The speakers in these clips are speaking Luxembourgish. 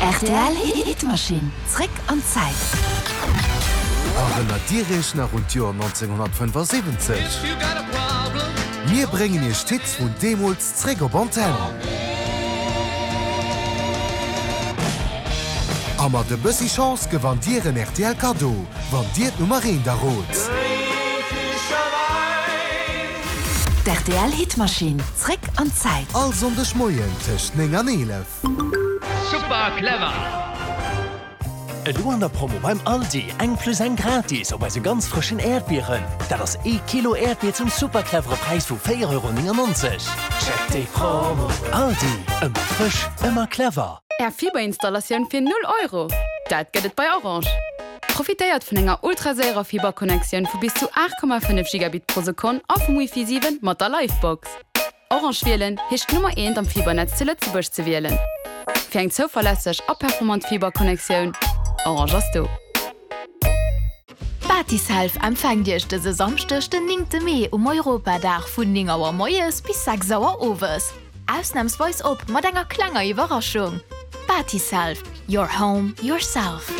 Rtl Hitmaschinn, zréck an d'Zäit. Erënnert Dir Iech nach un d'Joer 1975? Mir bréngen Iech d'Hits vun deemools zréck op Antenn. A mat e bëssi Chance gewannt Dir en rtl Kaddo, wann Dir d'Nummer eent errot. D'RTL Hitmaschinn, zréck an d'Zäit. All Sonndeg Moien tëscht 9 an 11. Super clever! Elo an der Promo beim Aldi, eng plus eng gratis op eise ganz frëschen Äerdbieren. Dat ass ee Kilo Äerdbier zum super clevere Präis vu 4,99 Euro. Check déi Promo! Aldi, ëmmer frësch, ëmmer clever! Är Fiberinstallatioun fir 0 Euro! Dat gëtt et bei Orange! Profitéiert vun enger ultraséierer Fiberconnectioun vu bis zu 8,5 Gigabit pro Sekonn a vum Wifi 7 mat der Livebox. Orange wielen heescht d'Nummer eent am Fibernetz zu Lëtzebuerg ze wielen. Fir eng zouverlässeg a performant Fiberconnectioun, Orange ass do. Batiself empfänkt Iech dëse Samschdeg den 9 Mee um Europadag vun 9 Auer moies bis 6 Auer owes. Ausnamsweis op mat enger klenger Iwwerraschung! Batiself, your home, yourself.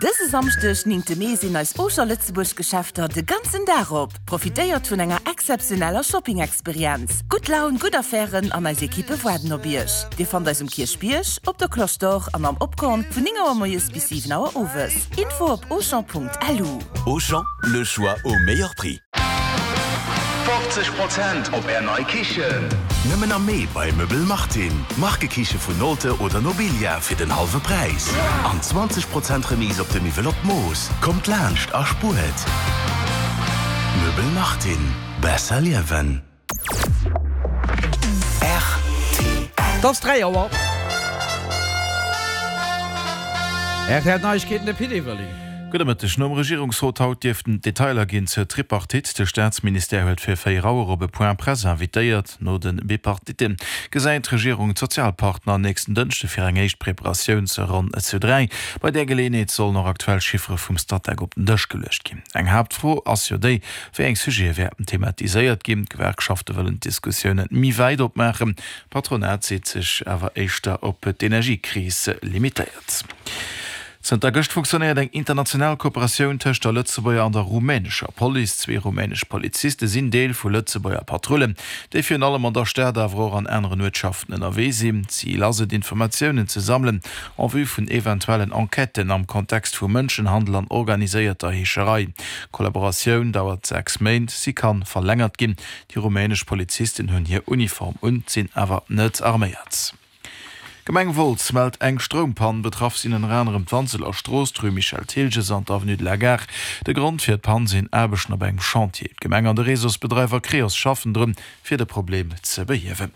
Dëse Samschdeg, 9 Mee, sinn eis Auchan Lëtzebuerg Geschäfter de ganzen Dag op. Profitéiert vun enger exzeptioneller Shopping-Experienz. Gutt Laun, gutt Affären an eis Ekippe waarden op Iech. Dir fannt eis um Kierchbierg, op der Cloche d'Or an am Opkorn vun 9 Auer moies bis 7 Auer owes. Info op auchan.lu. Auchan, le choix au meilleur prix. 50 Prozent op Är nei Kichen! Nëmmen am Mee bei Möbel Martin. Markekiche vun Nolte oder Nobilia fir den hallwe Präis. An 20 Prozent Remise op de Miwwel op d'Mooss. Kommt laanscht a spuert! Möbel Martin. Besser liewen. Rtl. Et ass 3 Auer. Rtl Neiegkeeten, de Pit Everling. Gudde Mëtteg. Nom Regierungsrot haut dierften d'Detailer ginn zur Tripartite. De Staatsministère huet fir 4 Auer op e Point presse invitéiert. No de Bipartite gesäit d'Regierung d'Sozialpartner nächsten Dënschde fir eng éischt Preparatiounsronn zu 3. Bei där Geleeënheet sollen och aktuell Chiffere vum Statec op den Dësch geluecht ginn. Eng Haaptfro ass jo déi, wéi eng Sujete wäerten thematiséiert ginn. D'Gewerkschafte wëllen d'Diskussiounen méi wäit opmaachen. D'Patronat seet sech awer éischter op d'Energiekris limitéiert. Zënter gëscht funktionéiert eng international Kooperatioun tëscht der Lëtzebuerger an der rumänescher Police. Zwee rumänesch Poliziste sinn Deel vu Lëtzebuerger Patrullen, déi virun allem an der Stad, awer och an aneren Uertschaften ënnerwee sinn. Zil ass et, Informatiounen ze sammelen en vue vun eventuellen Enquêten am Kontext vu Mënschenhandel an organiséierter Heescherei. D'Kollaboratioun dauert 6 Méint, si kann verlängert ginn. Déi rumänesch Polizisten hunn hir Uniform un, sinn awer net arméiert. D'Gemeng Wolz mellt eng Stroumpann. Betraff sinn ënner anerem d'Wanseler Strooss, d'Rue Michel Thilges an d'Avenue de la Gare. De Grond fir d'Pann sinn Aarbechten op engem Chantier. D'Gemeng an de Réseausbedreiwer Creos schaffen drun, fir de Problem ze behiewen.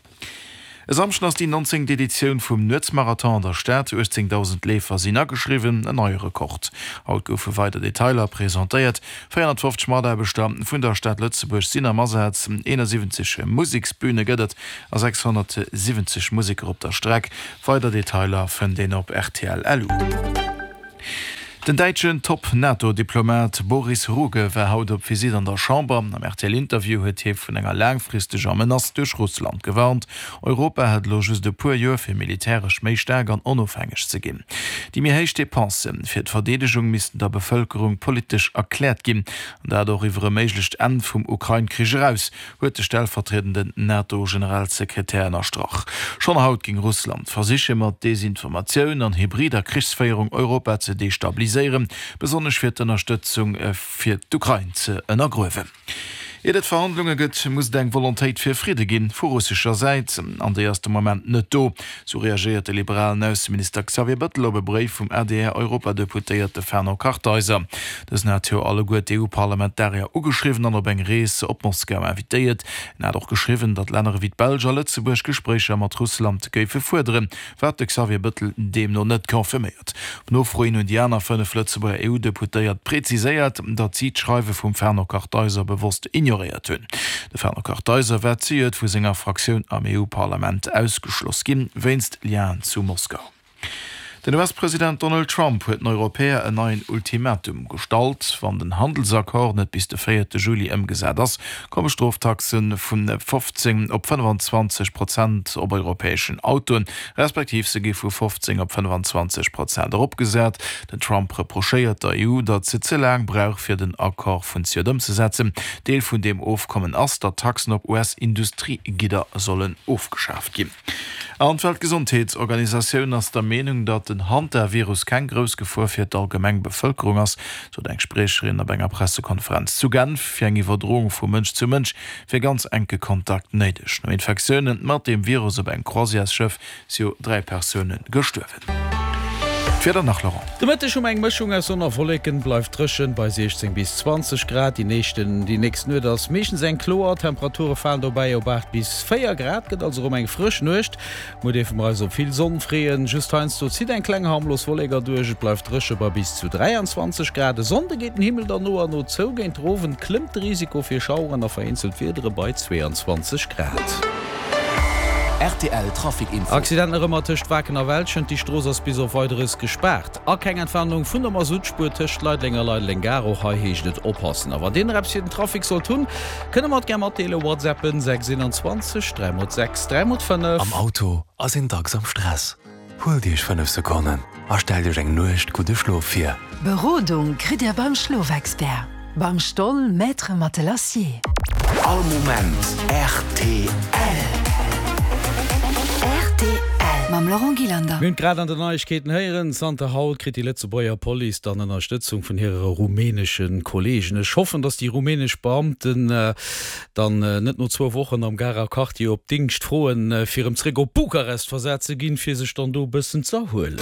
E Samschden ass déi 19. Editioun vum Nuetsmarathon an der Stad. 18.000 Leefer sinn ageschriwwen, en neie Rekord. Haut goufe weider Detailer presentéiert. 450 Mataarbechter vun der Stad Lëtzebuerg sinn am Asaz, 71 Museksbüne gëtt et a 670 Museker op der Streck. Weider Detailer fënnt een op rtl. Lu. Den däitschen Top-NATO-Diplomat Boris Ruge war haut op Visitt an der Chamber. Am RTL-Interview huet hie vun enger laangfristeger Menace duerch Russland gewarnt. Europa hätt elo just e puer Joer fir militäresch méi staark an onofhängeg ze ginn. Déi méi héich Depensë fir d'Verdeedegung missten der Bevëlkerung politesch erkläert ginn, an dat och iwwer e méiglecht Enn vum Ukrain-Krich eraus, huet de stellvertriedenden NATO-Generalsekretär ënnerstrach. Schonn haut géing Russland versiche mat Desinformatioun an hybrider Krichsféierung Europa ze destabiliséieren, besonnesch fir d'Ënnerstëtzung fir d'Ukrain ze ënnergruewen. Iert et Verhandlunge gëtt, muss et eng Volontéit fir Fridde ginn, vu russescher Säit. An déi ass de Moment net do. Sou reagéiert de liberalen Ausseminister Xavier Bëttel op e Bréif vum ADR-Europadeputéierte Fernand Kartheiser. Dësen hat jo alleguer d'EU-Parlamentarier ugeschriwwen an op eng Rees op Moskau invitéiert. En hat och geschriwwen, datt Länner ewéi d'Belsch a Lëtzebuerg Gespréicher mat Russland géife fuerderen. Wat de Xavier Bëttel deemno net confirméiert. Op Nofro hin hunn déi aner 5 Lëtzebuerger EU-Deputéiert preziséiert, datt si d'Schreiwe vum Fernand Kartheiser bewosst ignoréiert hunn. De Fernand Kartheiser war zejoert vu senger Fraktioun am EU-Parlament ausgeschloss ginn, wéinst Lienen zu Moskau. Den US-President Donald Trump huet den Europäer en neien Ultimatum gestallt. Wann den Handelsaccord net bis de véierte Juli ëmgesat ass, komme Stroftaxe vu 15 op 25 Prozent op europäeschen Autoen, respektiv se gi vu 15 op 25 Prozent eropgesat. Den Trump reprochéiert der EU, datt se ze laang brauch, fir den Accord vun Zejoert ëmzesetzen. Deel vun deem Ofkommen ass, datt Taxen op US-Industriegidder sollen ofgeschaaft ginn. An d'Weltgesondheetsorganisatioun ass der Meenung, datt den Hantavirus keng grouss Gefor fir d'allgemeng Bevëlkerung ass, sot eng Spriecherin op enger Pressekonferenz zu Genf. Fir eng Iwwerdroung vu Mënsch zu Mënsch wier ganz enke Kontakt néideg. No Infektioune mat deem Virus op engem Croisièresschëff si jo 3 Persoune gestuerwen. D'Wieder nach, Laurent. De Mëtteg hu mer eng Mëschung aus Sonn a Wolleken, bleift dréchen bei 16 bis 20 Grad. Déi nächsten déi nächst Nuet ass meeschtens eng kloer, Temperature falen dobäi op 8 bis 4 Grad, gëtt also erëm eng frësch Nuecht. Muer dierfe mer eis op vill Sonn freeën, just heiansdo zitt eng kleng harmlos Wollek erduerch. Et bleift dréche bei bis zu 23 Grad. E Sonnde geet den Himmel dann no a no zou, géint den Owend klëmmt de Risiko fir Schaueren a vereenzelt Wiedere bei 22 Grad. Rtl Trafic Info. Accident nach ëmmer tëscht Waarken a Welschent, déi Strooss ass bis op Weideres gespaart. A keng Entwarnung vun der Masuttspuer tëscht Leideleng a Leideleng Gare, och hei heescht et oppassen. A wann dir nach eppes fir den Trafic sollt hunn, kënne mer et gär matdeelen, WhatsAppen 6 21 3 x 6 3 x 5. Am Auto ass een dacks am Stress. Huelt Iech 5 Sekonnen a stellt Iech eng Nuecht gudde Schlof vir. Berodung kritt Dir beim Schlofexpert, beim Stoll Maître Matelassier. All Moment rtl. Rtl mam Laurent Gillander. Mir hunn et grad an den Neiegkeeten héieren, Zanter haut kritt déi Lëtzebuerger Police dann Ënnerstëtzung vun hire rumänesche Kolleegen. Ech hoffen, datt déi rumänesch Beamten dann net no zwou Wochen am Garer Quartier op Dingscht froen, fir erëm zréck op Bukarest versat ze ginn, fir sech dann do e bëssen z'erhuelen.